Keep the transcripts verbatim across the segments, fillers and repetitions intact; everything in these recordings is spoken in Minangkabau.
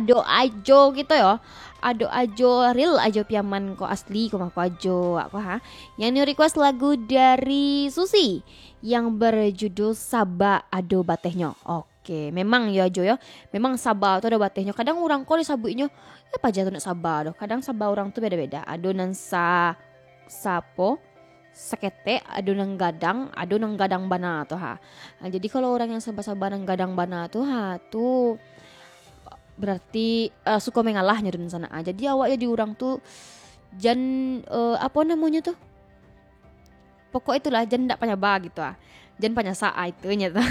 Ado Ajo gitu yo. Ado Ajo real, Ajo Piaman ko asli ko mah ko Ajo ko ha. Yang nio request lagu dari Susi yang berjudul Saba Ado Batehnyo. Oke, memang yo Ajo yo. Memang saba tu ado batehnyo. Kadang urang ko disabuiknyo, ya paja tu nak saba doh. Kadang saba urang tu beda-beda. Ado nan sa-, sapo, saketek, ado nan gadang, ado nan gadang bana tu ha. Nah, jadi kalau urang yang saba-saba nan gadang bana tu ha, tu berarti, eh, suko mengalah nyo dunsanak ha. Jadi awak jadi urang tu jan, eh, apo namonyo tu? Pokok itulah, jan ndak panyaba gitu ah. Jan panyasak ah, itunyo tu.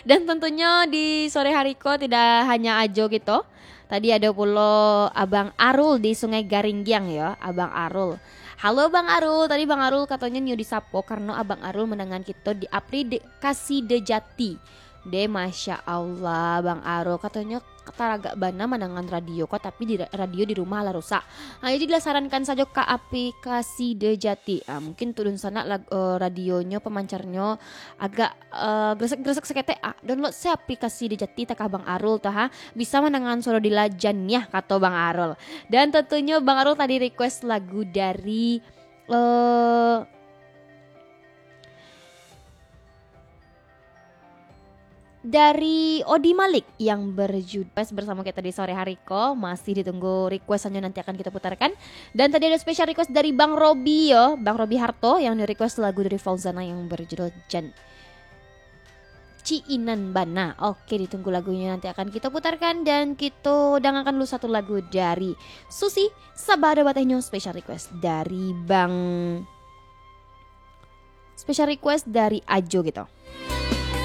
Dan tentunyo di sore hari ko tidak hanya Ajo gitu. Tadi ado pulo Abang Arul di Sungai Garinggiang yo, Abang Arul. Halo Bang Arul, tadi Bang Arul katonyo nio disapo karano Abang Arul mandangan kito di aplikasi Dejati. Deh, Masya Allah, Bang Arul. Katonyo taragak bana mandangan radio ko, tapi di ra-, radio di rumah lah rusak. Ha, jadi dilasarankan sajo ka aplikasi Dejati. Ha, mungkin tu dunsanak lag-, eh, radionyo, pemancarnyo agak, eh, gresek-gresek saketek. Ah, download se aplikasi Dejati takah Bang Arul tu ha. Bisa mandangan suaro Dila Janiah, kato Bang Arul. Dan tentunyo Bang Arul tadi request lagu dari, eh, dari Odi Malik yang berjudul Pas Bersamo Kita di Sore Hari ko. Masih ditunggu requestanyo, nanti akan kita putarkan. Dan tadi ada special request dari Bang Robi yo, Bang Robi Harto yang request lagu dari Fauzana yang berjudul Jan Ciinan Bana. Oke, ditunggu lagunya, nanti akan kita putarkan dan kita dangakan dulu satu lagu dari Susi, Saba Ado Batehnyo, special request dari Bang, special request dari Ajo gitu.